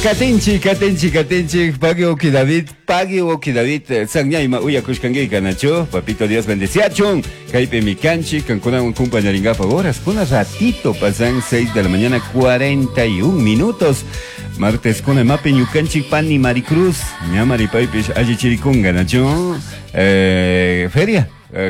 Katinchik, katinchik, katinchik, pagui uki David, pagui uki David, sanñayma uyakushkanki nachu, papito Dios bendeciachun, kaypi kanchik, kankunawan kumpañaringapaq horas, kuna ratito pasan 6 de la mañana 41 minutos, martes kuna imapi ñukanchik pani Maricruz, ña maripaypish allichirikunga nachu, feria.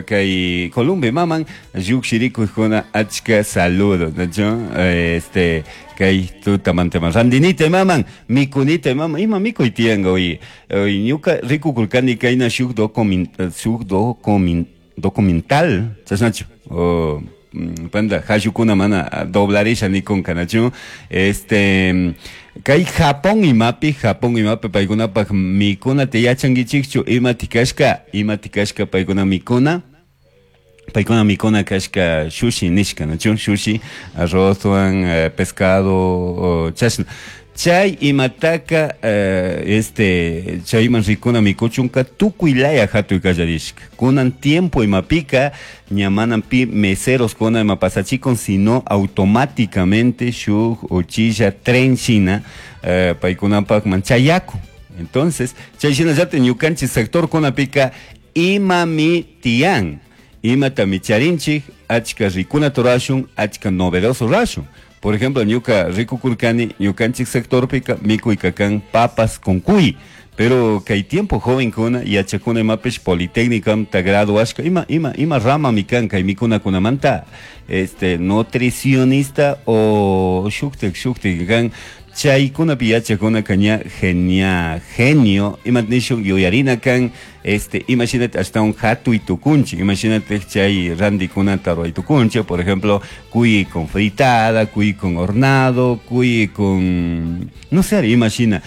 Kay Columbe maman llukshirikuykuna achka saludos nachu este kay tutamantaman randinita maman mikunita maman ima mikuy tiyanka hoy hoy ñuka rikukurkani kayna shuk shuk documental chashnachu o panda hallukuna mana doblarisha nikunka nachu este kay Japón imapi Japón imapi paykunapaq mikunata yachankichikchu ima tikashka ima tikashka paykuna mikuna paykuna mikuna kashka shushi nishka nachu shushi arrozwan pescado chashna chay imataka este chayman rikuna mikuchunka tukuy laya hatuy kallarishka kunan tiempo imapika ña manan pi meseros kuna ima pasachikun sino automáticamente shuk uchilla tren shina paykunapakman chayakun entonces chay shinallatik ñukanchik sector kunapika imami tiyan imatami charinchik achka rikunata rurashun achka novedoso rurashun. Por ejemplo, ñuka rikukurkani ñukanchik sectorpika mikuyka kan papas con cuy. Pero kay tiempo jovenkuna yachakuna imapish politécnica graduashka ima ima ima rama mi kan kay mikunakunamanta este nutricionista o shuktik shuktik kan chaykunapi yachakunaka ña genia genio imat nishun yuyarina kan este imashinata ashtawan hatuy tukunchik imashinata chay randikunata ruray tukunchik por ejemplo cuy con fritada cuy con hornado cuy con no sé imashina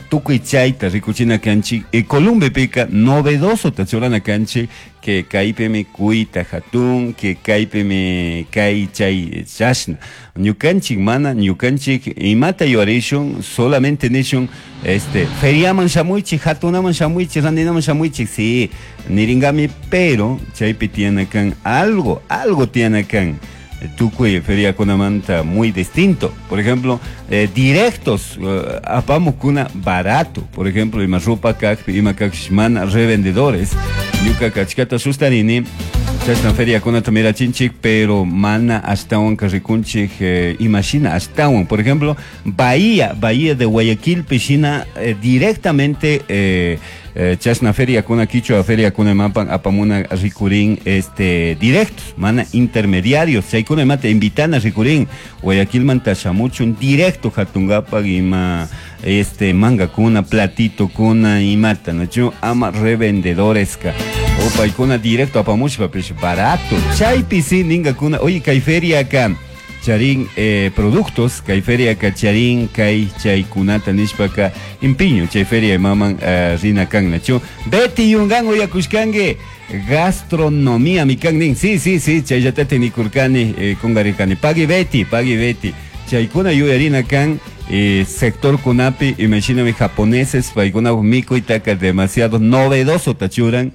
tukuy chayta rikuchina kanchik y Columbepika novedoso tachurana kanchik que kaypimi cuyta hatun que kaypimi kay chay chashna ñukanchik mana ñukanchik imata yuyarishun solamente nishun este feriaman shamuychik hatunaman shamuychik randinaman shamuychik sí niringami pero chaypi tiyana kan algo algo tiyana kan tukuy feriakunamanta muy distinto. Por ejemplo, directos, apamukuna barato. Por ejemplo, ima ropa kakpi, ima kakpish mana revendedores. Ñuka kachkata sustarini, chashna feriakunata mirachinchik, pero mana ashtawanka rikunchik, imashina ashtawan. Por ejemplo, Bahía, Bahía de Guayaquil, pishina, directamente chashna feriakuna kichwa feriakuna imapan apamuna rikurin este directos, mana intermediarios, chaykuna imata invitana rikurin Guayaquilmanta shamuchun directo hatungapak ima este mangakuna, platitokuna imata, nachu ama revendedoreska. O paykuna directo apamushpa pish barato. Chaypi si ningakuna, oye kay feria acá charin productos, kay feria ka charin kay chaykunata nishpaka impiño chay feria imaman rina kan nachu. Betty Yungan uyakushkanki gastronomía mi kan nin. Sí, sí, sí, chayllatate nikurkani kungarikani. Pagui Betty, pagui Betty. Chaykuna yuyarina kan sector kunapi, imashinami japoneses, paykuna mikuytaka demasiado novedoso tachuran,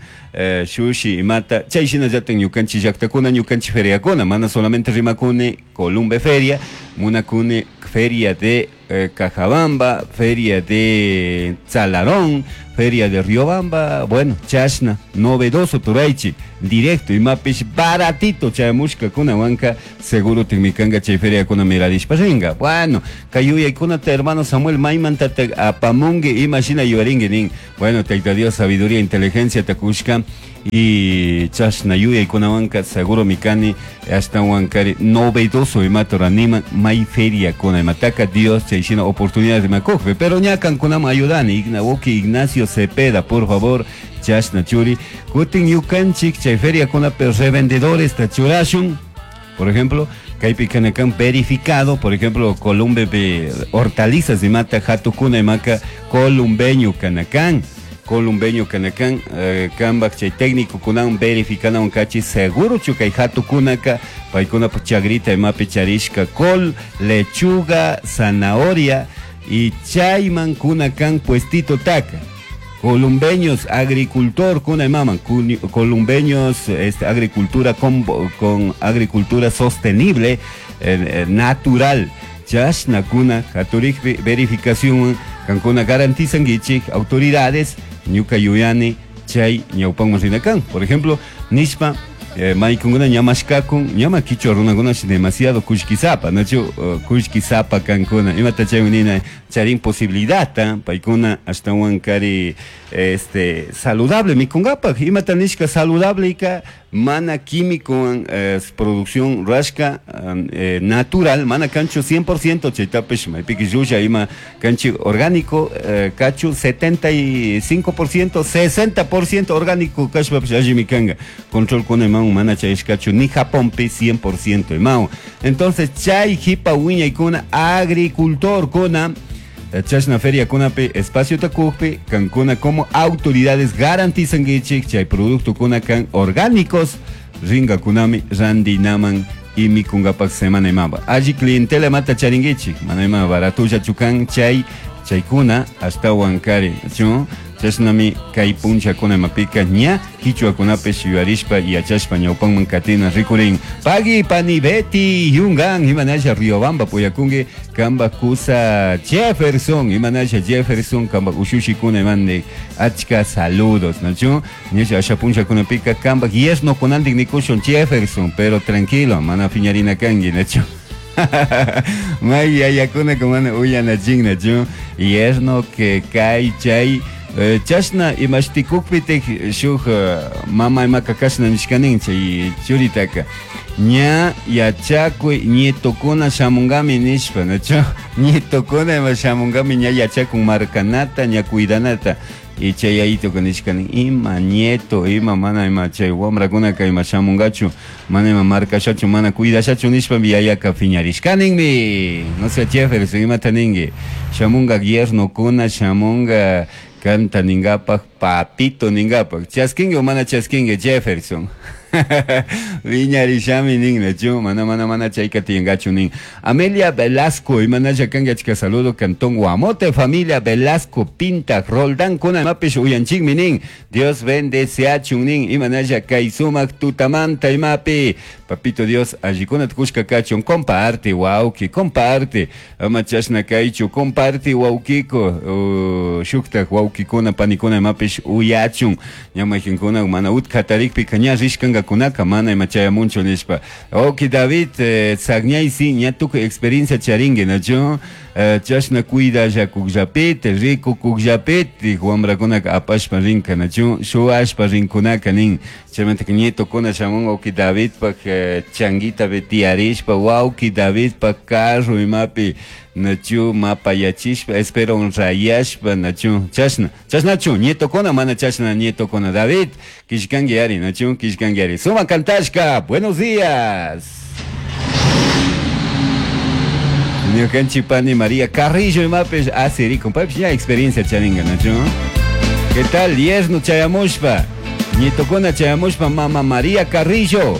shushi imata, chay shinallatak ñukanchik llaktakuna, ñukanchik feriakuna, mana solamente rimakuni Columbe Feria, munakuni feria de Cajabamba, feria de Tzalarón, feria de Riobamba, bueno, chashna, novedoso turaychi, directo imapish baratito chayamushka kunawanka, seguro tikmikanga chay feria kuna mirarishpa ringa. Bueno, kay yuyaykunata hermano Samuel maymanta apamunki imashina yuyarinki nin. Bueno, Tayta Dios sabiduría, inteligencia takushka y chashna yuyaykunawanka seguro mikani ashtawankari novedoso imata raniman may feria kuna imataka Dios chayshina oportunidad de makukpi, pero ña kankunaman ayudani Ignawoki Ignacio Cepeda, por favor, chashna churi kutin ñukanchik chay feria kuna revendedores tachurashun. Por ejemplo, kaypi kanakan verificado, por ejemplo, Columbe hortalizas imata hatukuna imaka columbeño kanakan. Columbeño kanakan, kambak chay técnico kunan verificana kachi seguro chu kay hatukunaka paykuna chagrita imapi charishka col, lechuga, zanahoria y chayman kunakan puestito taka. Columbeños, agricultor, kuna imaman, columbeños, este, agricultura con agricultura sostenible, natural. Chashna kuna haturikpi verificación Kankuna garantizanguichik autoridades ñuka yuyani chay ñawpanman rina kan. Por ejemplo, nishpa maykunguna ñamashkakun ñama kichwa runakunashi demasiado kullkisapa, nachu kullkisapa kankuna imata chaywan nina charin posibilidadta paykuna ashtawan kari este saludable mikunkapak imata nishka saludable mana químicowan producción rurashka natural mana kanchu 100% chaytapish maypiki llulla ima kanchik orgánico kachu 75% 60% orgánico kashpapish allimi kanka controlkuna imawan mana chayashkachu ni Japonpi 100% imawan. Entonces chay jipa wiñaykuna agricultorkuna chashna feriakunapi espaciota kukpi kankuna como autoridades garantizankichik chay productokuna kan orgánicos ringakunami randinaman y mikungapak semana imaba alli clientela mata charinkichik mana ima baratullachu kan chay chaykuna ashtawan kari chu chashnami kay punllakuna imapika ña kichwakunapish yuyarishpa yachashpa ñawpanman katina rikurin. Pagui pani Betty Yungan imanasha Riobamba puyakunki kamba kusa Jefferson imanasha Jefferson kamba ushushikuna imande achka saludos nachu ñasha asha punllakunapika kamba yerno kunantik nikushun Jefferson pero tranquilo mana piñarina kanki nachu. May yayakuna kumana uyanachin nachu yerno que kay chay chashna imashtikukpitik shuk mama imaka kashna nishkanin chay churitaka ña yachakuy nietokuna shamunkami nishpa nachu nietokuna ima shamunkami ña yachakun markanata ña cuidanata y chay yayituka nishkanin ima nieto ima mana ima chay wamrakunaka ima shamunkachu mana ima markashachu mana cuidashachu nishpa yayaka piñarishkaninmi. No sé Jefferson imata ninki shamunka yernokuna shamunka kanta ninkapak papito ninkapak chaskinki o mana chaskinki Jefferson. Viñarishami nin nachu mana mana mana chayka tiyankachu nin. Amelia Velasco imanasha kanki achka saludo Cantón Guamote familia Velasco Pinta Roldán kuna imapish uyanchikmi nin. Dios bendeciachun nin imanasha kay sumak tutamanta imapi. Papito Dios allikuna tukushka kachun comparte wawki comparte. Ama chashna kaychu comparte wawkiko shuktak wawkikuna panikuna imapish uyachun. Ña mayqinkuna mana utka tarikpika ña rishkankakunaka mana ima chayamunchu nishpa. Wawki David Sagñaysi ña tukuy experiencia charinki nachu chashna cuidallakukllapiti rikukukllapiti wamrakunaka apashpa rinka nachu shuwashpa rinkunaka nin. Chaymantaka nietokuna shamun wawki Davidpak changuitapi tiyarishpa wawki Davidpak carro imapi nachu mapayachishpa esperon rayashpa nachu chashna chashnachu nietokuna mana chashna nietokuna David kishkanki ari nachu kishkanki ari suma kantashka buenos días. Ñukanchik pani María Carrillo imapish asirikun paypish ña experiencia charinka nachu. ¿Qué tal? Yerno chayamushpa nietokuna chayamushpa mama María Carrillo.